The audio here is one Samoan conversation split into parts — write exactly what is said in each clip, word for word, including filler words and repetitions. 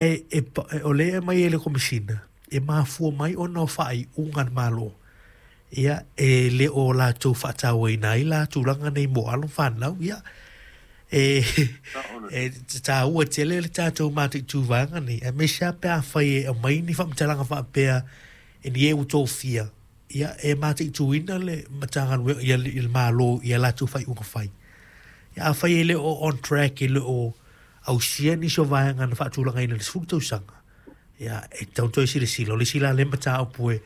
E, e, e, o lea e aumai e le Komesina, e mafua mai ona o faaiuga a le Malo, ia, e le o latou faatauaina ai la tulaga nei mo alo ma fanau. Ia, e, e taua tele le tatou mataitu vaega nei, aemaise lava pe afai e aumai ni faamatalaga faapea e ni e ua tofia, ia, e mataituina le Matagaluega, ia, le Malo i a latou faaiuga fai. Ia, afai e le o on track, e le o ausia nisi o vaega na faatulagaina i le sefulu tausaga, ia, e tatau ona toe silasila. O le isi la lea mataupu e,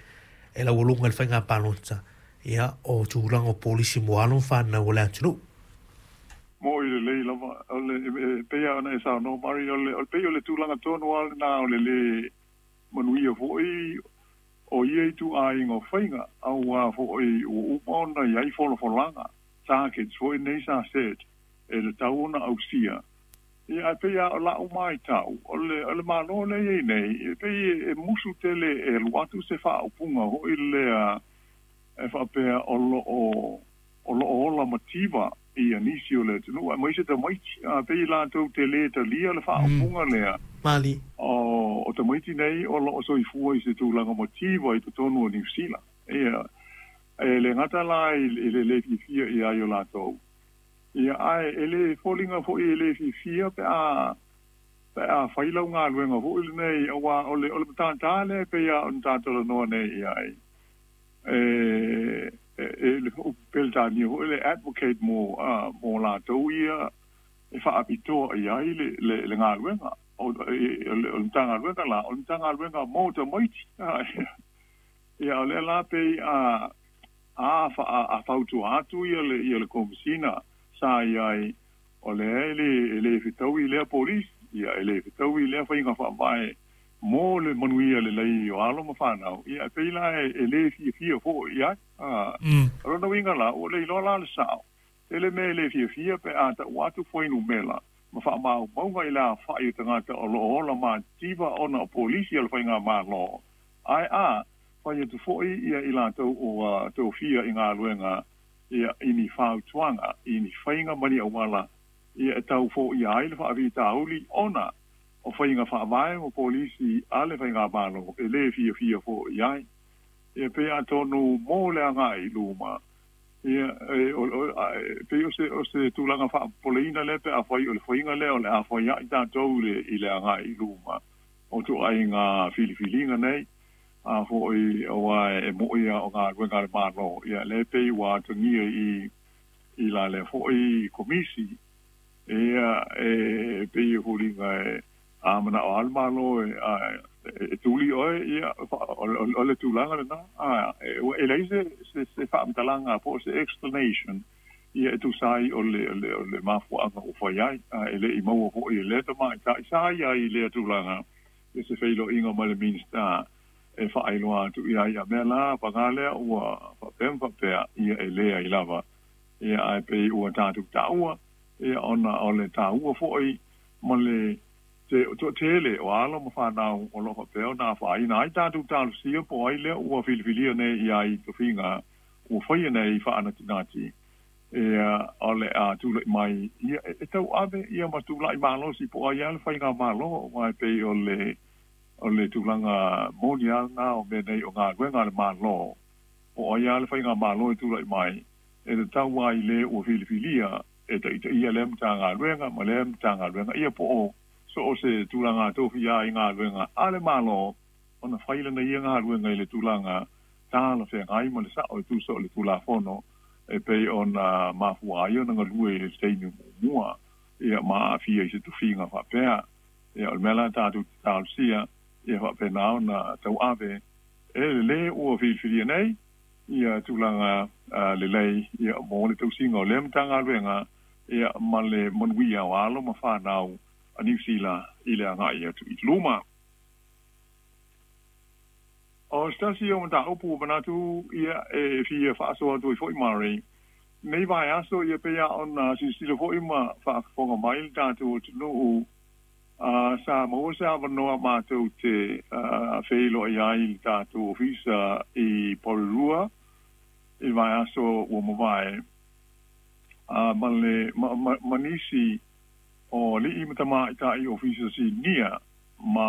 e laualuga i le faiga palota, ia, o tulaga o polisi mo alo ma fanau o le atunuu. Mo'i lelei lava o le e pei lava ona e saunoa Mari, o le o le pei o le tulaga tonu lava lena o le lē manuia fo'i o ia ituaiga o faiga, auā fo'i ua uma ona i ai folafolaga, targets fo'i nei sa set e tatau ona ausia. Ia, ae pei lava o la'u matau, o le o le Malo lea i ai nei, e pei e musu tele e alu atu se faaupuga fo'i lea e faapea o lo'o o lo'o ola mativa ia nisi o le atunuu aemaise tamaiti. A pei latou te lē talia le faaupuga lea Mali. o o tamaiti nei o lo'o soifua i se tulaga mativa i totonu o Niu Sila. Ia, e le gata la i le lē fiafia i ai o latou, ia, ae e lē foliga fo'i e lē fiafia pe a pe a fai lau galuega fo'i lenei, auā o le o le matātā lea e pei lava ona tatalanoa nei i ai e e le upu Peretania fo'i le advocate mo mo latou ia e faapitoa i ai le le le galuega o le o le Matagaluega la o le Matagaluega mo tamaiti. Ia, o lea la pei a a a fautua atu ia le ia le Komesina sa i ai, o lea e lē e lē fetaui lea polisi, ia, e lē fetaui lea faiga faavae mo le manuia lelei o alo ma fanau. Ia, e pei la e lē fiafia fo'i ai. O lona uiga la, ua le iloa la le sa'o tele mea e lē fiafia pe a ta'u atu fuainumela ma fa'amaumauga i le afa'i o tagata o lo'o ola mativa ona o polisi a le faigamālō, ae a fai atu fo'i ia i latou ua tofia i galuega, ia, i ni fautuaga i ni faiga ma ni auala, ia, e tau fo'ia ai le fa'afitauli ona o faiga faavae ma polisi a le faigamālō e lē fiafia fo'i ai. Ia, pei atonu mo le aga'i i luma, ia, e pei o se o se tulaga faapopoleina lea pe afai o le faiga lea o le a faia'i tatou i le aga'i i luma o ituaiga filifiliga nei. A fo'i auā e mo'i a o galuega a le Mālō, ia, lea pei ua atagia i i la lea fo'i komisi. Ia, e pei e foliga e a mana'o lava le Malo e e tuli oe, ia, o le tulaga lenā. A e leai se se faamatalaga po o se explanation, ia, e tusa ai o le o le mafuaaga ua fai ai. A e le'i maua fo'i e lea tamaita'i sa ia ai i lea tulaga ia se feiloaiga ma le Minista e faailoa atu i ai, a mea la pagā lea ua faapea ma faapea, ia, e leai lava. Ia, ae pei ua tatou taua, ia, ona o le taua fo'i ma le toatele o alo ma fanau o lo'o faapea ona afaina ai tatou talosia po o ai lea ua filifilia nei i ai tofiga ua faia nei faanatinati, ia, o le a tula'i mai, ia, e tauave, ia, ma tula'i malosi po o ai lava le faigamālō, aua e pei o le o le tulaga moni lava lenā o mea nei o galuega a le Mālō, po o ai lava le faigamālō e tula'i mai, e tatau lava i lē ua filifilia e taitaia lea Matagaluega ma lea Matagaluega, ia, po o so o se tulaga tofia ai galuega a le Mālō, ona fai lana ia galuega i le tulaga talafeagai ma le sa'o e tusa o le Tulafono e pei ona mafua ai ona galue i le taimi muamua, ia, ma aafia i se tofiga faapea. Ia, o le mea la tatou te talosia, ia faapena ona tauave e le lē ua filifilia nei ia tulaga lelei, ia, mo le tausiga o lea Matagaluega, ia, ma le manuia o alo ma fanau a Niu Sila i le aga'i atu i luma. O se tasi o mataupu ua manatu, ia, e fia faasoa atu ai fo'i Murray nei vaiaso, ia, pei lava ona silasila fo'i ma faafofoga mai le tatou atunuu, a sa maua se avanoa matou te feiloai ai i le tatou ofisa i Porirua i le vaiaso ua mavae, a ma le ma, ma, ma nisi o alii ma tamaitai ofisa sinia ma